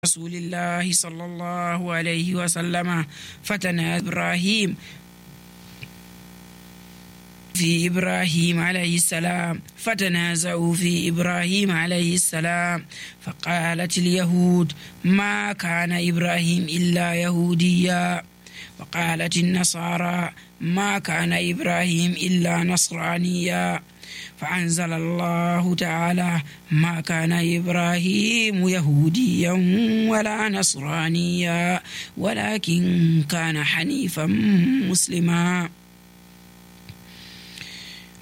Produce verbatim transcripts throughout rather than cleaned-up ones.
رسول الله صلى الله عليه وسلم فتنازع إبراهيم في إبراهيم عليه السلام فتنازعوا في إبراهيم عليه السلام فقالت اليهود ما كان إبراهيم إلا يهوديا، وقالت النصارى ما كان إبراهيم إلا نصرانيا، فأنزل الله تعالى ما كان إبراهيم يهوديا ولا نصرانيا ولكن كان حنيفا مسلما.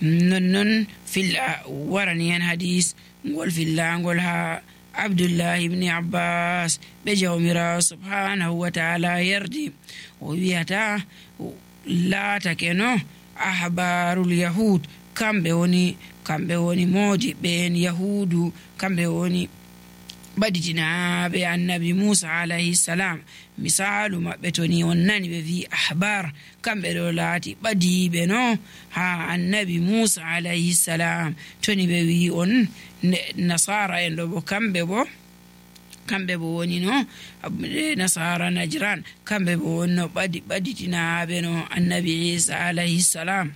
نن في ورنيان حديث نقول في الله نقولها عبد الله بن عباس بجومرا سبحانه وتعالى يردي وياتا لا تكنو أحبار اليهود kamɓe woni kamɓe woni moodi ɓen yahudu kamɓe woni ɓaditinaɓe annabi Musa alayhi salam. misalu maɓɓe to ni on nani ɓe wi ahbar kamɓe ɗo laati ɓadiɓe no ha annabi Musa alayhi salam. toni ɓe wi on nasara en ɗo bo kamɓe bo kamɓe bo woni no nasara najran kamɓe bo woni no ɓadi ɓaditinaɓe no annabi Isa alayhi salam.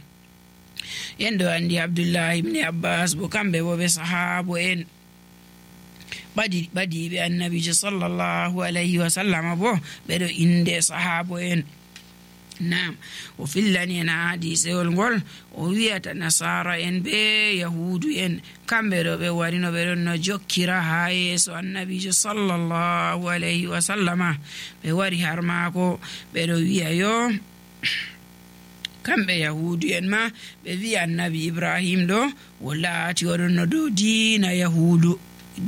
yendo andi Abdullah ibn Abbas bo kamɓe bo ɓe sahabo en ɓadi ɓadiɓe annabijo sallallahu alayhi wa sallam bo ɓeɗo inde sahabo en. nam o fillani en hadisewol ngol o wiyata nasara en be yahudu en kamɓe ɗo ɓe warino ɓeɗon no jokkira ha yeeso annabijo sallallahu alayhi wa sallama. ɓe wari har maako ɓeɗo wiya yo kamɓe yahudu en ma ɓe wi annabi Ibrahim ɗo o laati oɗon no dow diina yahudu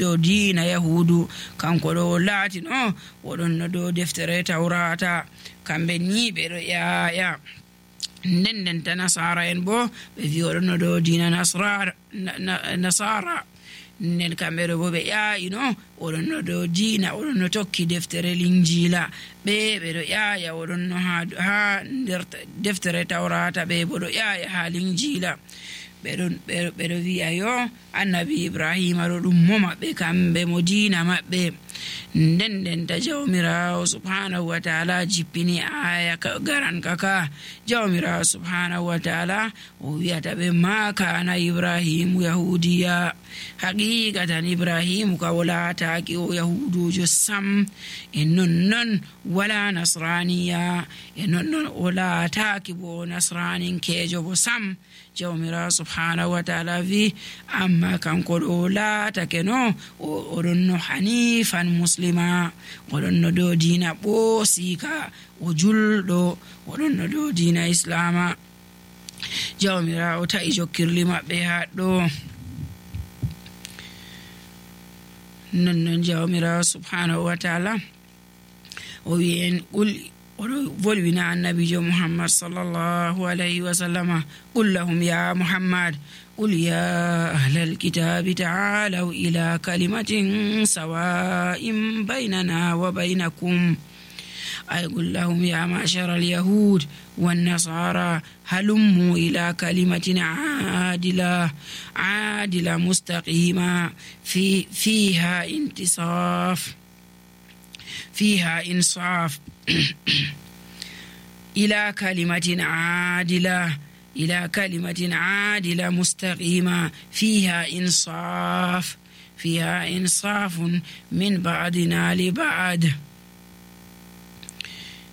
dow diina yahudu kanko ɗo o laati no oɗon no dow deftere tawrata. kamɓe ni ɓeɗo ƴaƴa nden ndenta nasara en bo ɓe wi oɗon no dow diina nasara nden kamɓe ɗo bo ɓe ƴaayi no oɗon no dow diina oɗon no tokki deftere linjila ɓe ɓeɗo ƴaaya oɗon no ha ha nder deftere tawrata ɓe bo ɗo ƴaaya ha linjila. ɓeɗon ɓeɗo wi'a yo annabi Ibrahima ɗo ɗum mo maɓɓe kamɓe mo diina maɓɓe. nden ndenta jawmirawo subhanahu wa ta'ala jippini aya garan kaka jawmirawo subhanahu wa ta'ala o wiyata ɓe ma kana Ibrahimu yahudiya, haqiqatan Ibrahimu ka o laataki o yahudujo sam, e nonnon wala nasraniya, e nonnon o laataki bo nasraninkejo bo sam. jawmirawo subhanahu wa ta'ala wi amma kanko ɗo laatake no oɗon no hanifan muslima, oɗon no dow diina ɓoosika o julɗo, oɗon no dow diina islama. jawmirawo ta'i jokkirli maɓɓe haɗɗo. nonnon jawmirawo subhanahu wa ta'ala o wi en qul oɗo volwina annabijo Muhammad sallallahu alayhi wa sallama qul lahum ya Muhammad qul ya ahlal kitabi ta'alaw ila kalimatin sawa'in baynana wa baynakum ay qul lahum ya ma'shara al-yahud wan nasara halummu ila kalimatin adila adila mustaqima fi fiha intisaf فيها إنصاف إلى كلمة عادلة إلى كلمة عادلة مستقيمة فيها إنصاف فيها إنصاف من بعضنا لبعض.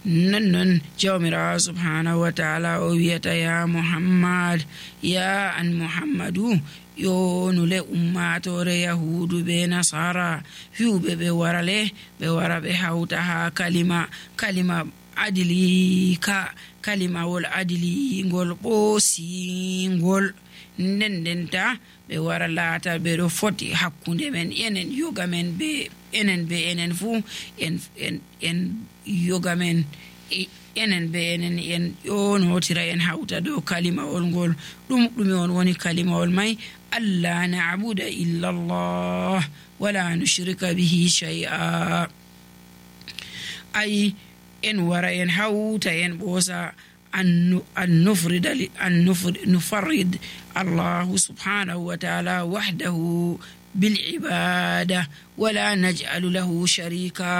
ننن جومرا سبحانه وتعالى ويت يا محمد يا أن محمد yonu le ummatore yahudu be nasara fiuɓe ɓe warale ɓe wara ɓe hawta ha kalima kalima adili ka kalimawol adili ngol ɓoosingol nden ndenta ɓe wara laata ɓe ɗo foti hakkunde men enen yoga men be enen be enen fuu en en en yoga men enen be enen en ƴonotira en hawta dow kalimawol ngol. ɗum ɗume on woni kalimawol may? alla na'buda illa Allah wala nushrika bihi shay'a. ay en wara en hawta en ɓoosa أن نفرد أن نفرد Allah subhanahu wa ta'ala wahdahu بالعبادة ولا نجعل له شريكا